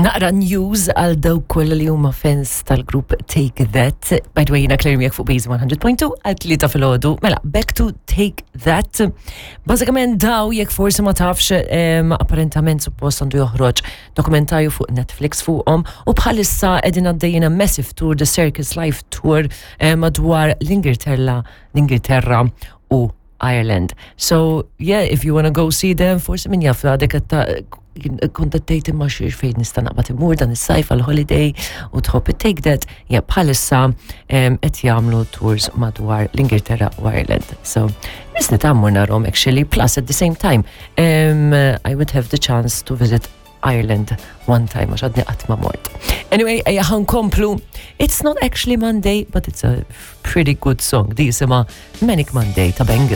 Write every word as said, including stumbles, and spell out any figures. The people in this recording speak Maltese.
Naqra news għal dawk kollha li huma fans tal-grupp Take That. By the way, jiena Claire miegħek fuq Base one hundred point two għal tlieta filgħodu. Mela, back to Take That. Bażikament daw, jekk forsi ma tafx, em, apparentament suppost għandu joħroġ dokumentarju fuq Netflix fuqhom u bħalissa qegħdin għaddejjin massive tour, The Circus Live Tour, eh, madwar l-Ingilterra, l-Ingilterra u Ireland. So, yeah, if you wanna go see them, forsi min jaf għadek kontattejt imma xiex fejn nista' naqbad imur dan is-sajf għal holiday u tħobb Take That, ja, bħalissa em, qed jagħmlu tours madwar l-Ingilterra u Ireland. So, nisni tammur narhom actually, plus at the same time, um, I would have the chance to visit Ireland one time, għax għadni qatt ma mort. Anyway, ejja ħa nkomplu. It's not actually Monday, but it's a pretty good song. Di jisimha Manic Monday ta' Bangles.